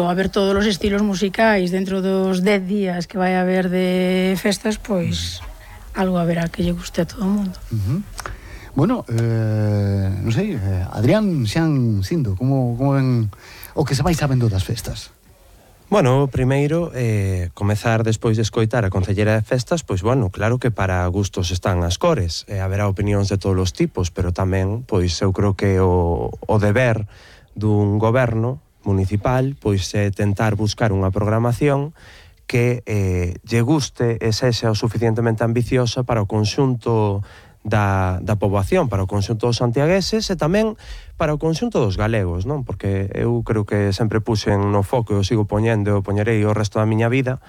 a ver todos os estilos musicais dentro dos 10 días que vai haber de festas, pois algo haberá que lle guste a todo o mundo. Bueno, non sei, Adrián, Xan, Sindo, como ven o que se vai sabendo das festas? Bueno, primeiro, comezar despois de escoitar a Concelleira de Festas, pois, bueno, claro que para gustos están as cores, haberá opinións de todos os tipos, pero tamén, pois, eu creo que o deber dun goberno municipal, pois, é tentar buscar unha programación que lle guste e sexa o suficientemente ambiciosa para o conxunto da poboación, para o conxunto dos santiagueses e tamén para o conxunto dos galegos, non? Porque eu creo que sempre puxen no foco e o sigo poñendo e o poñerei o resto da miña vida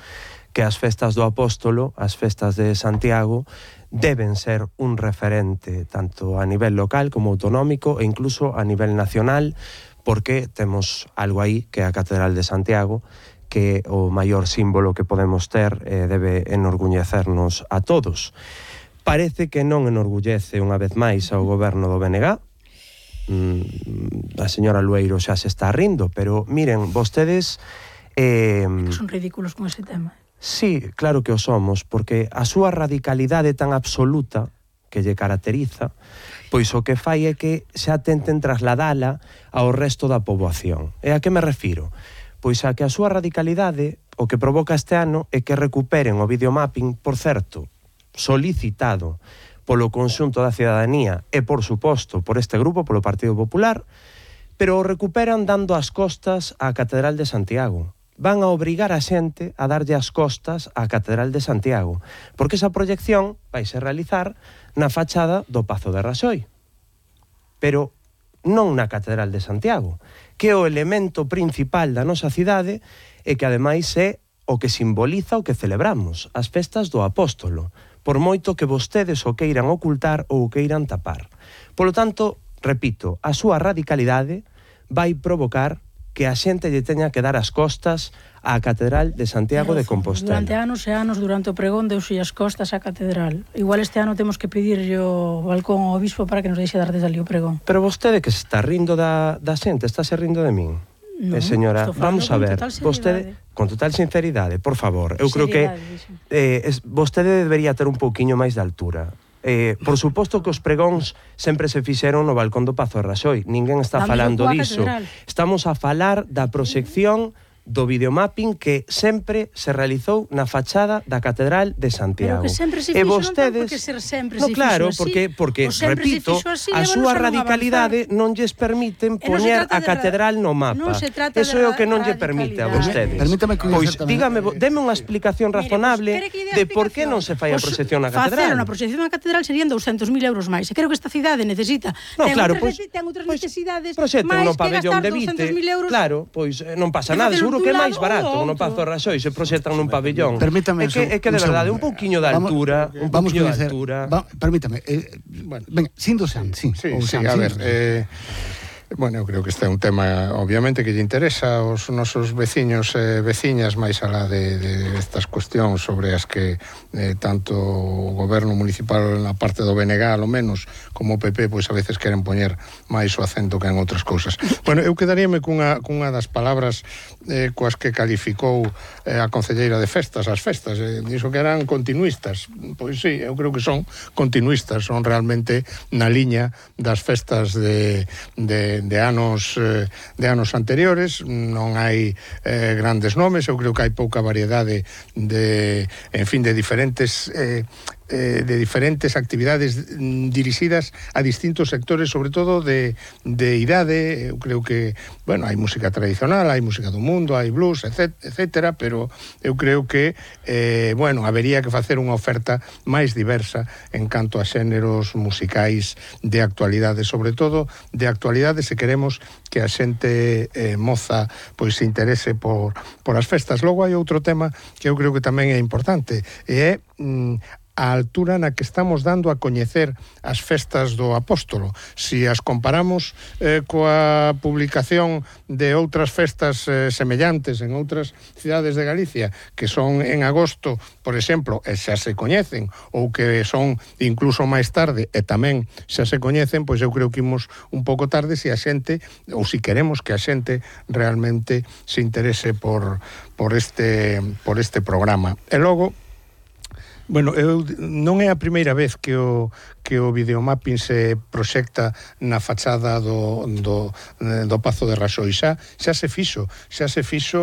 que as festas do Apóstolo, as festas de Santiago, deben ser un referente tanto a nivel local como autonómico e incluso a nivel nacional, porque temos algo aí que é a Catedral de Santiago, que é o maior símbolo que podemos ter e debe enorgullecernos a todos. Parece que non enorgullece unha vez máis ao goberno do BNG. A señora Lueiro xa se está rindo, pero miren, vostedes... Son ridículos con ese tema. Sí, claro que o somos, porque a súa radicalidade tan absoluta que lle caracteriza, pois o que fai é que xa tenten trasladala ao resto da poboación. E a que me refiro? Pois a que a súa radicalidade o que provoca este ano é que recuperen o videomapping, por certo, solicitado polo conxunto da cidadanía e, por suposto, por este grupo, polo Partido Popular, pero o recuperan dando as costas á Catedral de Santiago. Van a obrigar a xente a darlle as costas á Catedral de Santiago, porque esa proyección vaise realizar na fachada do Pazo de Raxoi, pero non na Catedral de Santiago, que é o elemento principal da nosa cidade e que ademais é o que simboliza o que celebramos, as festas do Apóstolo, por moito que vostedes o queiran ocultar ou o queiran tapar. Polo tanto, repito, a súa radicalidade vai provocar que a xente lle teña que dar as costas á Catedral de Santiago de Compostela. Durante anos e anos, durante o pregón, deuse as costas á Catedral. Igual este ano temos que pedirlle o balcón ao obispo para que nos deixe dar desde ali o pregón. Pero vostede que se está rindo da xente, está se rindo de min. No, señora, vamos a ver, vostede, con total sinceridade, por favor, eu creo que vostede debería ter un pouquiño máis de altura. Por suposto que os pregóns sempre se fixeron no balcón do Pazo de Raxoi, ninguén está falando diso. Estamos a falar da proxección do videomapping que sempre se realizou na fachada da Catedral de Santiago. Pero que sempre se fixo, vostedes... non ten por que ser sempre no, se claro, fixo así. porque repito, a súa radicalidade non lles permiten poñer a Catedral no mapa. Eso é o que non lle permite a vostedes. Permítame que pois, dígame, deme unha explicación razonable de por que non se fai a proxección na Catedral. Facer unha proxección na Catedral serían 200.000 euros máis. E creo que esta cidade necesita. No, claro, pois ten outras necesidades máis que gastar 200.000 euros. Claro, pois non pasa nada, seguro que é máis barato no Pazo de Raxoi se proxectan nun pabellón. Permítame, é que de verdade, un pouquiño de altura, permítame, venga, Sindo Xan, sí, a ver, bueno, eu creo que este é un tema obviamente que lle interesa aos nosos veciños e veciñas máis alá de estas cuestións sobre as que tanto o goberno municipal na parte do BNG, ao menos, como o PP, pois a veces queren poñer máis o acento que en outras cousas. Bueno, eu quedaríame cunha das palabras coas que calificou a Concelleira de Festas, as festas, dixo que eran continuistas. Pois sí, eu creo que son continuistas, son realmente na liña das festas de anos anteriores. Non hai grandes nomes, eu creo que hai pouca variedade de diferentes actividades dirixidas a distintos sectores, sobre todo de idade. Eu creo que, bueno, hai música tradicional, hai música do mundo, hai blues, etcétera, pero eu creo que, bueno, habería que facer unha oferta máis diversa en canto a xéneros musicais de actualidade, sobre todo de actualidade se queremos que a xente moza pois se interese por as festas. Logo hai outro tema que eu creo que tamén é importante, e é a altura na que estamos dando a coñecer as festas do Apóstolo. Si as comparamos coa publicación de outras festas semellantes en outras cidades de Galicia, que son en agosto, por exemplo, e xa se coñecen, ou que son incluso máis tarde, e tamén xa se coñecen, pois eu creo que imos un pouco tarde se a xente, ou se queremos que a xente realmente se interese por este programa. E logo, bueno, non é a primeira vez que o videomapping se proxecta na fachada do Pazo de Raxoi. Xa se fixo,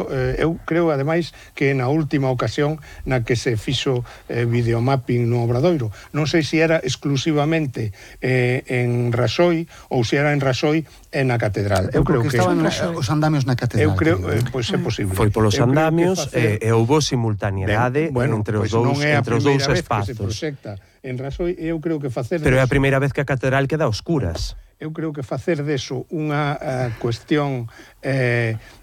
eu creo ademais que na última ocasión na que se fixo videomapping no Obradoiro. Non sei se era exclusivamente en Raxoi ou se era en Raxoi e na Catedral. Eu creo que estaban os andamios na Catedral. Eu creo, pois é posible. Foi polos andamios e houbo simultaneidade entre os dous espazos. Que se proxecta en Raxoi, eu creo que facer... Pero é a primeira vez que a catedral queda a oscuras. Eu creo que facer deso unha cuestión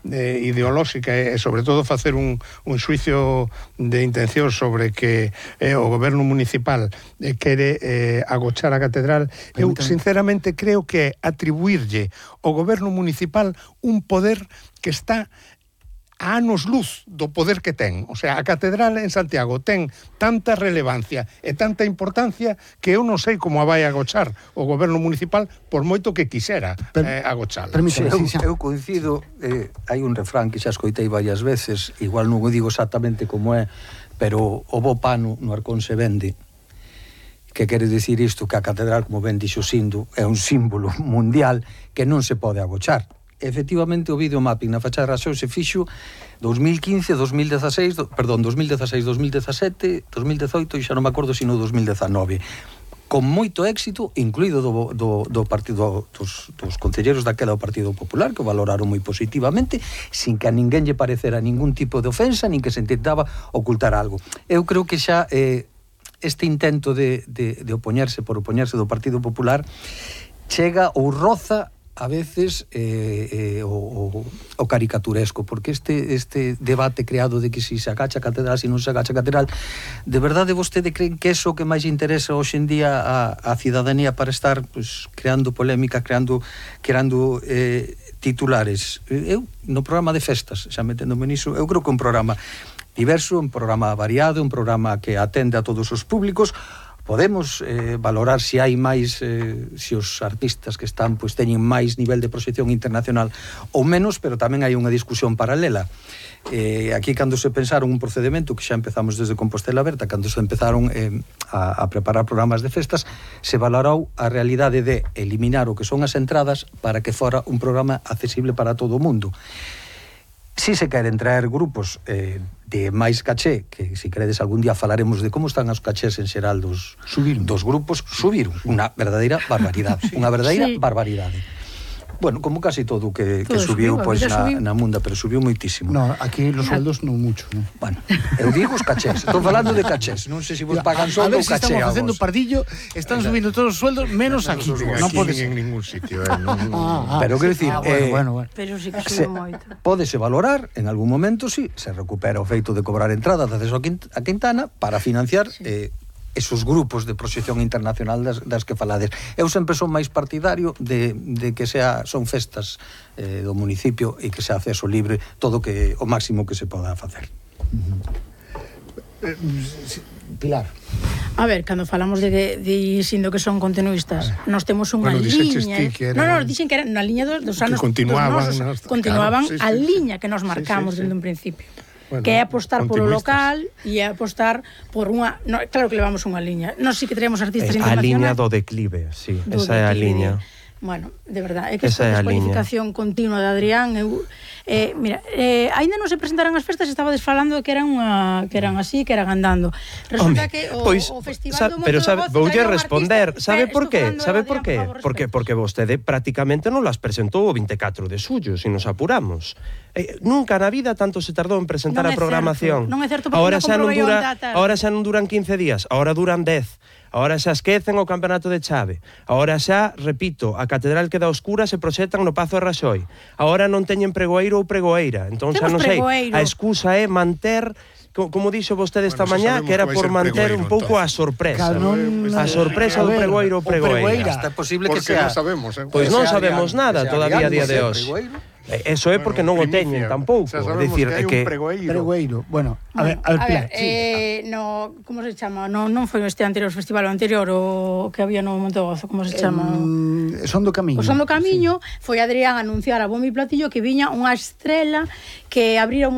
ideolóxica e sobre todo facer un xuicio de intención sobre que o goberno municipal quere agochar a catedral, eu sinceramente creo que atribuirlle ao goberno municipal un poder que está a anos luz do poder que ten. O sea, a catedral en Santiago ten tanta relevancia e tanta importancia que eu non sei como a vai agochar o goberno municipal por moito que quixera agochala. Eu coincido, hai un refrán que xa escoitei varias veces, igual non o digo exactamente como é, pero o bo pano no arcón se vende. Que quere dicir isto? Que a catedral, como ben dixo Sindo, é un símbolo mundial que non se pode agochar. Efectivamente, o videomapping na fachada de Raxoi se fixo 2015, 2016, 2017, 2018 e xa non me acordo sino 2019. Con moito éxito, incluído do partido dos concelleros daquela do Partido Popular, que o valoraron moi positivamente, sin que a ninguén lle parecera ningún tipo de ofensa, nin que se intentaba ocultar algo. Eu creo que xa este intento de opoñerse por opoñerse do Partido Popular chega ou roza a veces o caricaturesco, porque este debate creado de que si se agacha a catedral, si non se agacha a catedral, de verdade vostede creen que eso que máis interesa hoxe en día a cidadanía para estar pues, creando polémica, creando titulares? Eu, no programa de festas, xa meténdome niso, eu creo que un programa diverso, un programa variado, un programa que atende a todos os públicos. Podemos valorar se hai máis, se os artistas que están pois teñen máis nivel de proxección internacional ou menos, pero tamén hai unha discusión paralela. Aquí, cando se pensaron un procedimento que xa empezamos desde Compostela Aberta, cando se empezaron a preparar programas de festas, se valorou a realidade de eliminar o que son as entradas para que fora un programa accesible para todo o mundo. Si se queren traer grupos de máis caché, que se queredes algún día falaremos de como están os cachés en xeral dos grupos, subiron unha verdadeira barbaridade, unha verdadeira barbaridade. Bueno, como casi todo que subiu pois na munda, pero subiu moitísimo. No, aquí los sueldos non mucho, ¿no? Bueno, eu digo os cachés, estou falando de cachés, non sei se vos pagan só ou caché. A ver, si estamos facendo pardillo, están subindo todos os sueldos menos aquí. Non pode ser en ningún sitio, Pero quero dicir, bueno. Pero sí que subiu moito. Pódese valorar en algún momento si se recupera o feito de cobrar entradas de acceso a Quintana para financiar esos grupos de proxección internacional das que falades. Eu sempre son máis partidario de que son festas do municipio e que sea acceso libre todo o máximo que se poda facer. Pilar. A ver, cando falamos de sindo que son continuistas, nós temos unha liña. Non, dixen que era na liña dos anos que continuaban a liña que nos marcamos dende un principio. Bueno, que é apostar polo local e é apostar por unha... No, claro que levamos unha liña. Nós sí que teremos artistas internacionais. A liña do declive, sí. Esa é a liña. Bueno, de verdade, é que esta descualificación continua de Adrián, mira, aínda non se presentaran as festas, estabades falando que eran así, que eran andando. Resulta que o Festival do Monte do Gozo... Voulle responder, sabe por qué? Porque vostede prácticamente non las presentou o 24 de xullo, se nos apuramos. Nunca na vida tanto se tardou en presentar a programación. Non é certo, porque Ahora xa non duran 15 días, ahora duran 10. Agora xa esquecen o campeonato de chave. Agora xa, repito, a catedral queda oscura se proxectan no Pazo de Raxoi. Agora non teñen pregoeiro ou pregoeira. Entón xa non sei, a excusa é manter, como dixo vostede esta mañá, que era por manter un pouco a sorpresa. A sorpresa do pregoeiro ou pregoeira. Está posible que sea... Pois non sabemos nada todavía a día de hoxe. Eso é porque non o teñen tampouco. É dicir, é que pregoeiro. Bueno, a ver, Pilar, no, como se chama? Non foi este anterior festival, o anterior, o que había no Montegozo, como se chama? Son do Camiño. O Son do Camiño, foi Adrián a anunciar a bombo e platillo que viña unha estrela que abrira un